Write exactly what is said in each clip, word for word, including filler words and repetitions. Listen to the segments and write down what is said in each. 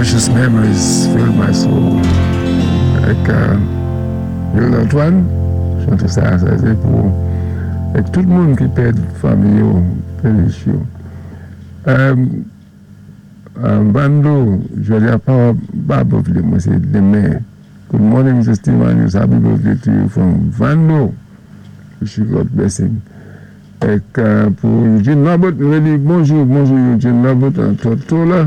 Precious memories fill my soul. Avèk Will Antoine, chanté sa, sa sé pou avèk tout moun ki pèd fanmi yo, péri yo. Um, um, Bando, jòdi a pa pa birthday, mwen sé denmen. Good morning, Mr. Steve Andrews. Happy birthday to you from Vando. Wish you God blessing. Èk euh, pou Eugene Robert, mwen di bonjou, bonjou Eugene Robert an Tortola.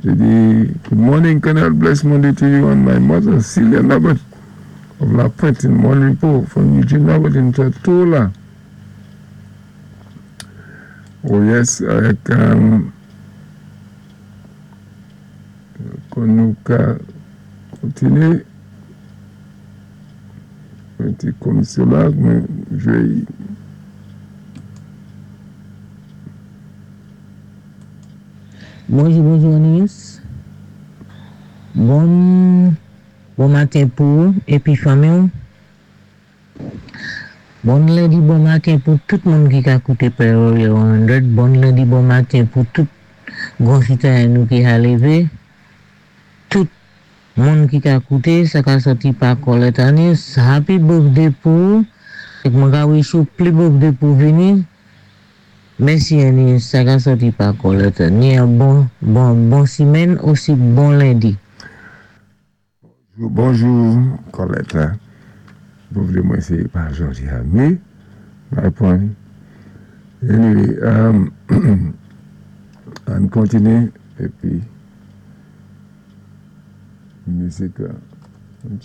Jé di, good morning, Colonel. Bless Monday to you and my mother, Celia Robert of La Pointe in Mon Repos from Eugene Robert in Tortola. Oh yes, avèk um, kon nou ka kontiné yon ti komisyon la, mwen jwé Bonjou, bonjou Anis. Bon, bon maten pou ou épi fanmi. Bon lendi, bon maten pou tout moun ki ka kouté Pearl san. Bon lendi, bon maten pou tout gwan sitwayen nou ki ka lévé. Tout moun ki ka kouté, sa ka sòti pa Colette Anis. Happy birthday pou ou. Èk mwen ka wish ou pli birthday pou vini. Mèsi Anis, sa ka sòti pa Colette. Ni yon bon, bon, bon simèn, osi bon lendi. Bonjou, Colette. Birthday mwen sé pa jòdi a, mé, my point. Anyway, um, ann kontiné épi mizik, an